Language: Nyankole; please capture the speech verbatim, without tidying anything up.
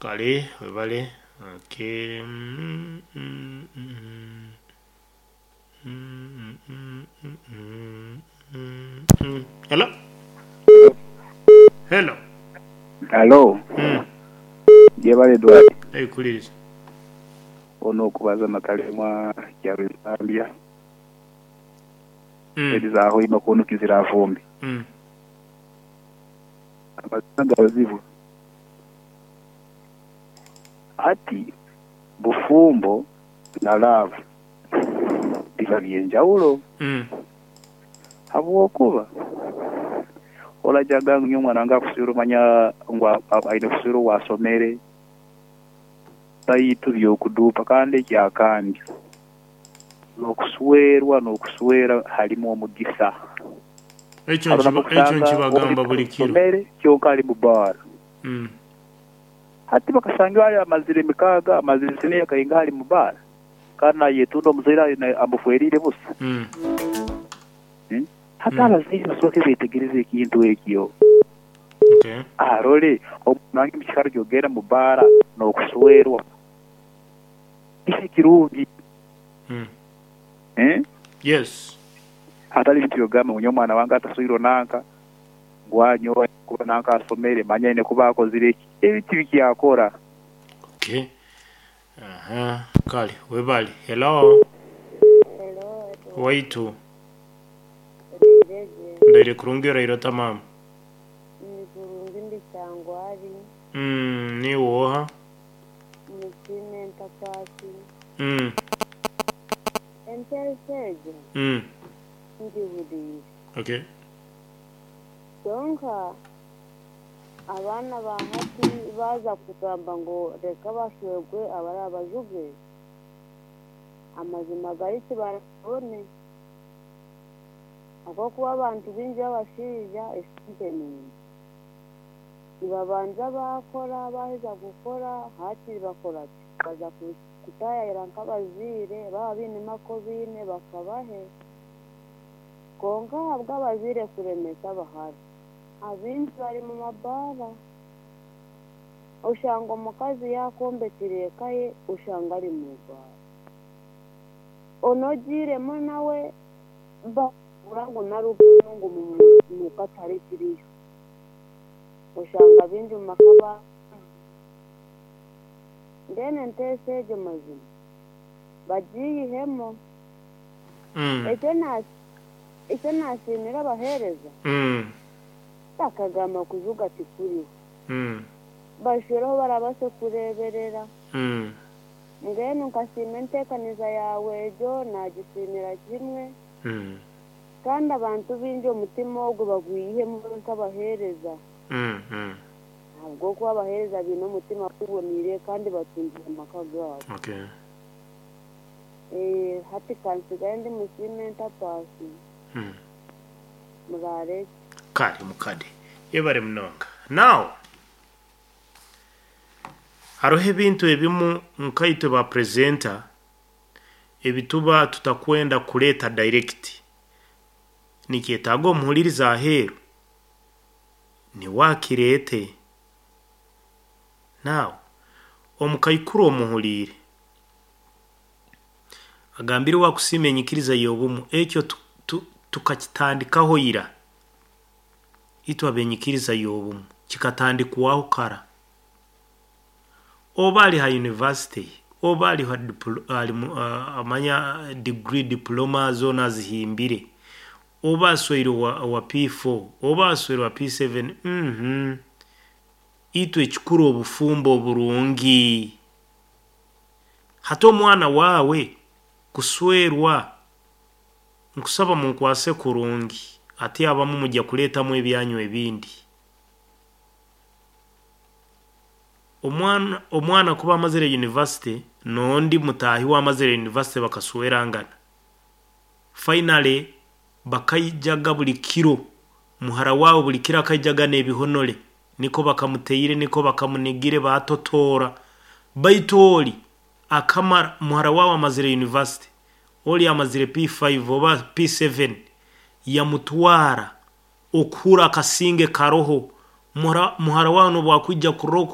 Kale webale. Okay. Mm, mm, mm, mm, mm, mm, mm, mm, mm. Hello. Hello. Halo, Mm. jebale Edward. Ekuliriza. Ono okubaza Nakalemwa Kyarwesambya Mm. edizaaho ino kunukizira afumbi. Mm. Amazima gabazibu. Ati bufumbo na love biba byenjawulo Mm. habwokuba olajaga ngu omwana wange akuswire omanya ngu a- a- aine kuswira owasomere baitu byokuduupa kandi ekyakandi n'okuswerwa n'okuswera halimu omugisa. Ekyo Haro nkiba- ekyo nakusanga nkibagamba oli buli kiro. asomere kyonka ali mu baara. Mm. Hati bakasanga ali amazire mikaaga amazire siniya kainga ali mu baara kandi nayetunda omuzaire aine- amufwerire busa. Mm. Hmm? Hati Mm. abazaire basooke betegereze ekintu ekyo. Okay. Arole omwana wange mukikaro kyogenda mu baara n'okuswerwa kiki kirungi. Mm. Eh? Yes. Hatali bintu byogamba ngu nyowe omwana wange ataswirwe nanka ngu anyowe kuba nanka asomere manya aine kuba akozire eki ebi tibikyakora. Okay. Aha. Kale webale. Hello. Hello, Edward. Waitu. Orireje. Ndaire kurungi oraire tamam. Ni kurungi ndi kyangwari. Mm, ni woha. Musime ntapasi. Mm. Enteesa egyo Mm. ngihuriire. Okay. Kyonka abaana ba hati baaza kugamba ngu reka bashwerwe abari abajuge, amazima gari tibarabone. Ahabw'okuba abantu baingi b'abashaija esente ningi. Nibabanza baakora baaheza kukora hakiri bakora ki? Baza ku- kutaayayira nk'abazaire baaba bainemu aku baine bakabahe. Kwonka ahabw'abazaire kuremesa abahara, abaingi bari mu mabaara. Oshanga omukazi yaakombekire eka ye oshanga ari mu baara. Onogiiremu nawe bakubura ngu narugayo ngu mu- muka tarikiriyo. Oshanga baingi mu maka ba mbwenu enteesa egyo mazima bagiyihemu. Mm. Ekyo na- ekyo nasiimira abaheereza Mm. bakagamba kujuga tikuriho. Mm. Bashwireho barabase kureeberera. Mm. Mbwenu nkasiima enteekaniza yaawe egyo naagisiimira kimwe Mm. kandi abantu baingi omutima ogwo bagwihemu nk'abaheereza. Mm. Mm. Ahabw'okuba abaheereza baine omutima guboniire kandi batungire amaka gaabo. Okay. Eh, hati kansigaye ndi musiime ntapaasi Mm. muraare. Kale mukade. Yebare munonga. Now hariho ebintu ebimu nkaitwe ba presenter ebituba tutakwenda kuleeta direct nikyetaaga omuhuliriza aheeru niwakireete. Now omukaikuru omuhuliire agambire wakusiima enyikiriza y'obumu ekyo tu- tu- tukakitandikaho ira itwe abenyikiriza y'obumu kikatandikwaho kara oba ali ha university oba ali ha diplo- ali mu- ah, amanya degree diploma zoona azihimbire oba asweire wa, wa P four oba asweire wa P seven, mhm itwe ekikuru obufumbo oburungi. Hati omwana waawe kuswerwa nkusaba munkwase kurungi ate abamu mujja kuleetamu ebyanyu ebindi. Omwana omwana kuba amazire university n'ondi mutaahi we amazire university bakaswerangana, finally bakaijaga buli kiro muhara waawe buli kiro akaijaga n'ebihonore niko bakamuteire niko bakamunigire batotoora. Baitu oli akamara muhara waawe amazire university, oli amazire P five oba P seven yamutwara okuhura akasinge karoho muhara, muhara wawe nobwakwija kurora.